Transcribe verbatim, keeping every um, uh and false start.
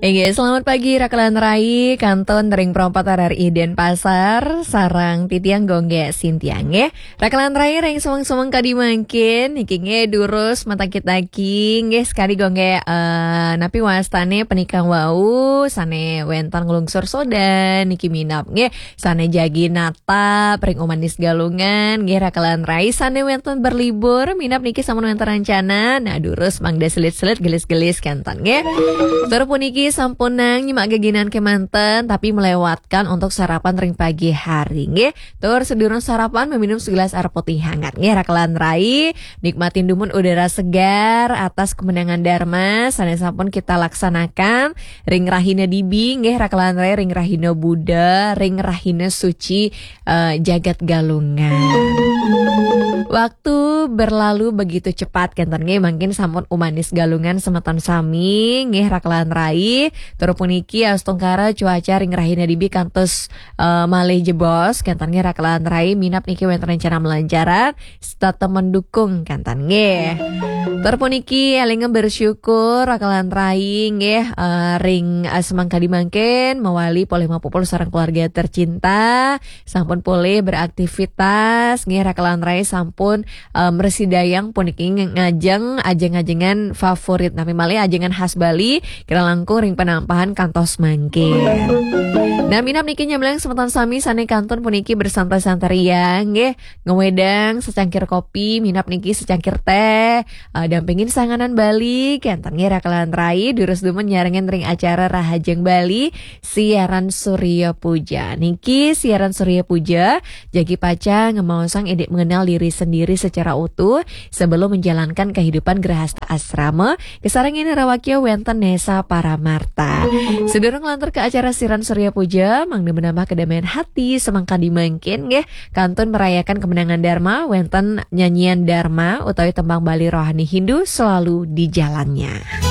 Inggih, selamat pagi Rakelan Rai, kantun ring Pro empat R R I Denpasar, sareng titiang Gung Gé Sintiang nggih. Rakelan Rai ring semeng-semeng kadi mangkin, niki nggih durus mataki-taki nggih, sekadi Gung Gé, eh, napi wastané punika wau sané wénten nglungsur sodan niki minab nggih, sané jagi natap ring Umanis Galungan nggih, Rakelan Rai sané wénten berlibur minab niki sampun wénten rencana. Nah, durus mangda selit-selit gelis-gelis kénten nggih. Tur puniki sampunang nyemak geginan kémanten tapi melewatkan untuk sarapan ring pagi hari nggih. Tur sedurung sarapan meminum segelas air putih hangat nggih, Rakelan Rai. Nikmatin dumun udara segar atas kemenangan Dharma sané sampun kita laksanakan ring rahina dibi nggih, Rakelan Rai, ring rahina Buddha, ring rahina suci, eh, jagat Galungan. Waktu berlalu begitu cepat kénten nggih, mangkin sampun Umanis Galungan semeton sami nggih, Rakelan Rai. Tur puniki astungkara cuaca ring rahina dibi kantos, eh, malih jebos kénten nggih, Rakelan Rai, minab niki wénten rencana melancaran setata mendukung kénten nggih. Tur puniki élinga bersyukur Rakelan Rai nggih, eh, ring, eh, semeng kadi mangkin mawali polih mapupul sareng keluarga tercinta, sampun polih beraktivitas nggih, Rakelan Rai sampun, eh, mresidayang puniki nge-, ngajeng ajeng-ajengan favorit, napi malih ajengan khas Bali, kirang langkung ring penampahan kantos mangkin. Nah, minab niki nyambilang semeton sami sané kantun puniki bersantai-santai ria nggih, ngwedang secangkir kopi, minab niki secangkir téh, eh, dampingin sanganan Bali, kénten nggih, Rakelan Rai, durus dumun nyarengin ring acara Rahajeng Bali, siaran Surya Puja. Niki siaran Surya Puja, jagi pacang ngemaosang indik mengenal diri sendiri secara utuh sebelum menjalankan kehidupan grahasta asrama, kasarengin rawakya wénten Nesa Paramarta. Sedurung lantur ke acara siaran Surya Puja, mangda menambah kedamaian hati semeng kadi mangkin nggih, kantun merayakan kemenangan Dharma, wénten nyanyian Dharma utawi tembang Bali rohani Hindu selalu di jalannya.